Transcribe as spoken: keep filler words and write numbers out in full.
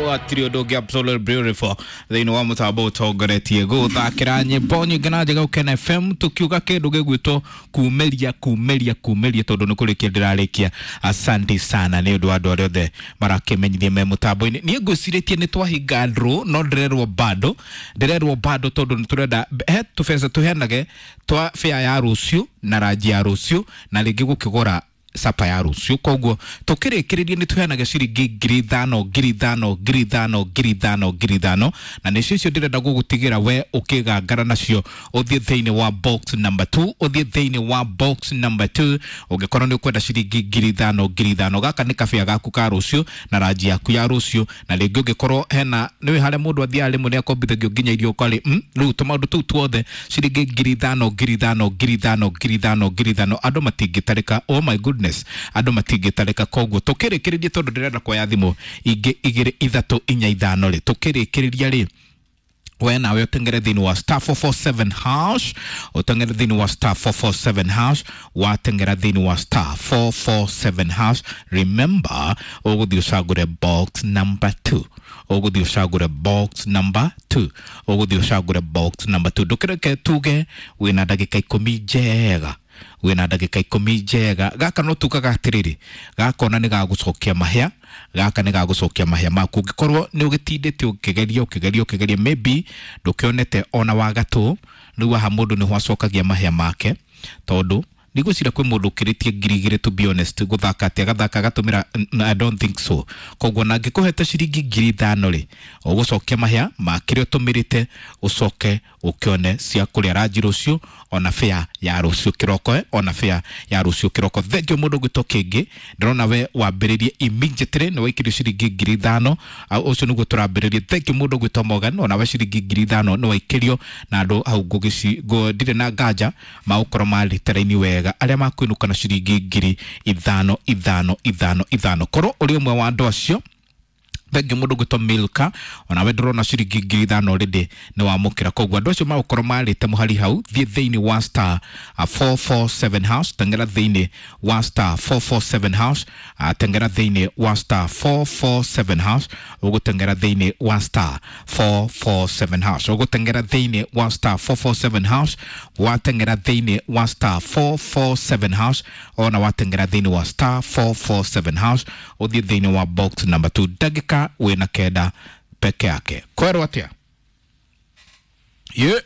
Gũtirĩ ũndũ ũngĩ, absolutely beautiful thĩinĩ wa mũtambo ũtongoretie gũthakĩra nyĩmbo nyingĩ na njega Ũkena F M, tũkiuga kĩndũ gĩgwĩtwo kumĩria kumĩria kumĩria, tondũ nĩ kũrĩkia ndĩrarĩkia. Asante sana nĩ ũndũ wa andũ arĩa othe marakĩmenyithia me mũtambo-inĩ. Niĩ ngwĩcirĩtie nĩ twahinga draw, no ndĩrerwo bado, ndĩrerwo bado, tondũ nĩ tũrenda he tũbeca tũheanage twa fare ya rũciũ na ranji ya rũciũ na rĩngĩ gũkĩgũra sapa ya rũciũ. Koguo tũkĩrĩkĩrĩria nĩ tũheanaga ciringi ngiri ithano, ngiri ithano, ngiri ithano, ngiri ithano, ngiri ithano, na nĩcio icio ndĩrenda gũgũtigĩra we ũkĩgangara nacio. Ũthiĩ thĩinĩ wa box number two, ũthiĩ thĩinĩ wa box number two ũngĩkorwo nĩ ũkwenda ciringi ngiri ithano, ngiri ithano. Gaka nĩ kabĩa gaku ka rũciũ na ranji yaku ya rũciũ, na rĩngĩ ũngĩkorwo hena nĩwĩ harĩa mũndũ athiaga rĩmwe nĩ akombithagio nginya irio ũkarĩ mm, rĩu tũmaũndũ tũu tuothe, ciringi ngiri ithano, ngiri ithano, ngiri ithano, ngiri ithano, ngiri ithano, andũ matingĩtarĩka. Oh my goodness, andũ matingĩtarĩka. Koguo tũkĩrĩkĩrĩria, tondũ ndĩrenda kuoya thimũ ingĩ igĩrĩ, ithatũ, inya, ithano rĩ, tũkĩrĩkĩrĩria rĩ, we nawe ũtengere thĩinĩ wa star four four seven hash, ũtengere thĩinĩ wa star four four seven hash. Watengera thĩinĩ wa star four four seven hash, remember ũgũthiĩ ũcagũre box number two, ũgũthiĩ ũcagũre box number two, ũgũthiĩ ũcagũre box number two. Ndũkĩreke tuge wĩna ndagĩka ikũmi njega, wĩna ndagĩka ikũmi njega. Gaka no tugaga atĩrĩrĩ, gakona nĩ gagũcokia mahĩa, gaka nĩ gagũcokia mahĩa maku ũngĩkorwo nĩ ũgĩtindĩte ũkĩgeria, ũkĩgeria, ũkĩgeria, maybe ndũkĩonete ona wa gatũ. Rĩu haha mũndũ nĩho acokagia mahĩa make, tondũ ndigwĩciria kwĩ mũndũ ũkĩrĩtie ngiri igĩrĩ, to be honest, gũthaka atĩ agathaka agatũmĩra. n- I don't think so. Koguo na angĩkũhete ciringi ngiri ithano rĩ, ũgũcokia mahĩa ma kĩrĩa ũtũmĩrĩte, ũcoke ũkĩone cia kũrĩa ranji rũciũ ona fare ya rũciũ kĩroko, eh, ona fare ya rũciũ kĩroko. Thengiũ mũndũ ũgwĩtwo kĩngĩ, ndĩrona we wambĩrĩrie immediately nĩ waikirio ciringi ngiri ithano. Au ũcio nĩguo tũrambĩrĩrie. Thengiũ mũndũ ũgwĩtwo Morgan, ona we ciringi ngiri ithano nĩ waikĩrio, na andũ hau ngũgĩci ngũ- ndirĩ na nganja magũkorwo marĩte raini wega arĩa makwĩnũka na ciringi ngiri ithano, ithano, ithano, ithano. Korwo ũrĩ ũmwe wa andũ acio, thengiũ mũndũ ũgwĩtwo Milka, onawe ndĩrona ciringi ngiri ithano already nĩ wamũkĩra. Koguo andũ acio magũkorwo marĩte mũhari hau, thiĩ thĩinĩ wa star uh, four four seven hash, tengera thĩinĩ wa star four four seven hash, uh, tengera thĩinĩ wa star four four seven hash, ũgũtengera thĩinĩ wa star four four seven hash, ũgũtengera thĩinĩ wa star four four seven hash. Watengera thĩinĩ wa star four four seven hash, ona watengera thĩinĩ wa star four four seven hash, ũthiĩ thĩinĩ wa box number two. Ndagĩka wĩna kenda peke yake. Kwerwo atĩa ye?